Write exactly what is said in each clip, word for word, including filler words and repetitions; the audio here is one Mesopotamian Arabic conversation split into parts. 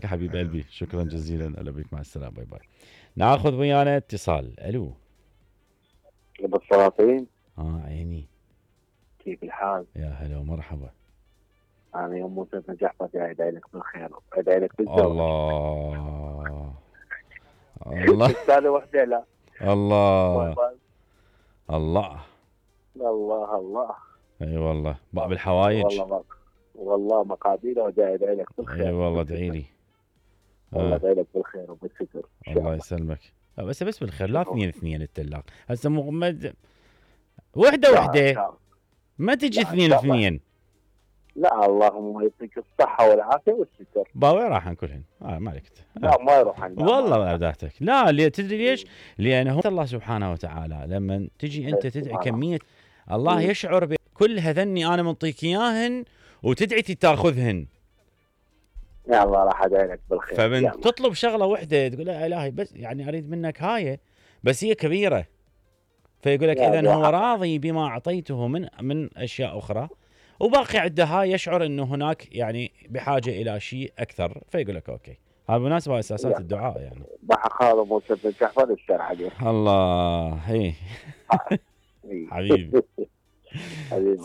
يا حبيب قلبي شكرا جزيلا. هلا بك، مع السلامه، باي باي. ناخذ ويانا اتصال. الو. ابو السلاطين، اه عيني، كيف الحال؟ يا هلا ومرحبا. انا يوم موسى بن جعفر جاي ادعي لك بالخير وادعي لك بالزواج. الله الله استاذه وحده لا الله الله الله الله. اي والله باب الحوايج. والله ما والله مقادير وجاي ادعي لك بالخير. اي والله ادعي لي. والله آه. ادعي لك بالخير وبالستر. الله يسلمك. بس بس بالخير، لا اثنين اثنين التلاق هسه مو مد... وحده وحده ما تجي اثنين اثنين. لا اللهم يعطيك الصحه والعافيه والستر. با وين راح كلهن؟ آه ما عليك. لا ما يروح والله ما ابدعتك. لا لي تدري ليش؟ لانه الله سبحانه وتعالى لما تجي انت تدعي كميه، الله يشعر بكل هذني انا منطيك اياهن وتدعي تاخذهن. يا الله راح ادعي لك بالخير. فمن تطلب شغله وحده تقول يا الهي بس يعني اريد منك هاي بس هي كبيره، فيقول لك اذا هو راضي بما اعطيته من من اشياء اخرى وباقي عنده هاي، يشعر انه هناك يعني بحاجه الى شيء اكثر، فيقول لك اوكي. هذا بالمناسبه اساسات الدعاء يعني. بحق هذا موسى بن جعفر الشر عليه. الله هي حبيبي.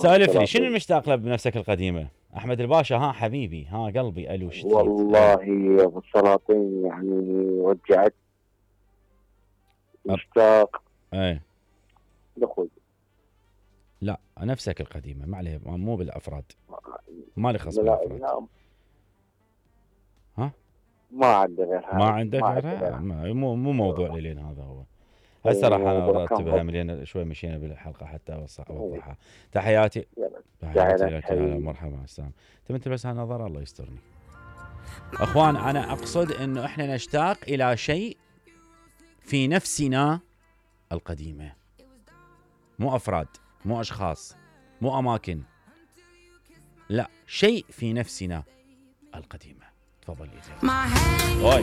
سالف لي شنو المشتاق له بنفسك القديمه؟ احمد الباشا. ها حبيبي، ها قلبي. الو شتيت؟ والله يا ابو السلاطين يعني وجعت مشتاق. ايه دخل. لا نفسك القديمه، ما عليه، مو بالافراد، ما لي خص بالافراد. لا ها ما عندي غيرها. ما عندك غيرها؟ مو مو موضوع لين هذا هو. هسه راح انا ارتبها ملينا شوي، مشينا بالحلقه حتى اوضحها. تحياتي تحياتي لك. يا مرحبا السلام. انت بس هالنظر الله يسترني. اخوان انا اقصد انه احنا نشتاق الى شيء في نفسنا القديمه، مو افراد، مو اشخاص، مو اماكن، لا شيء في نفسنا القديمه. تفضل يا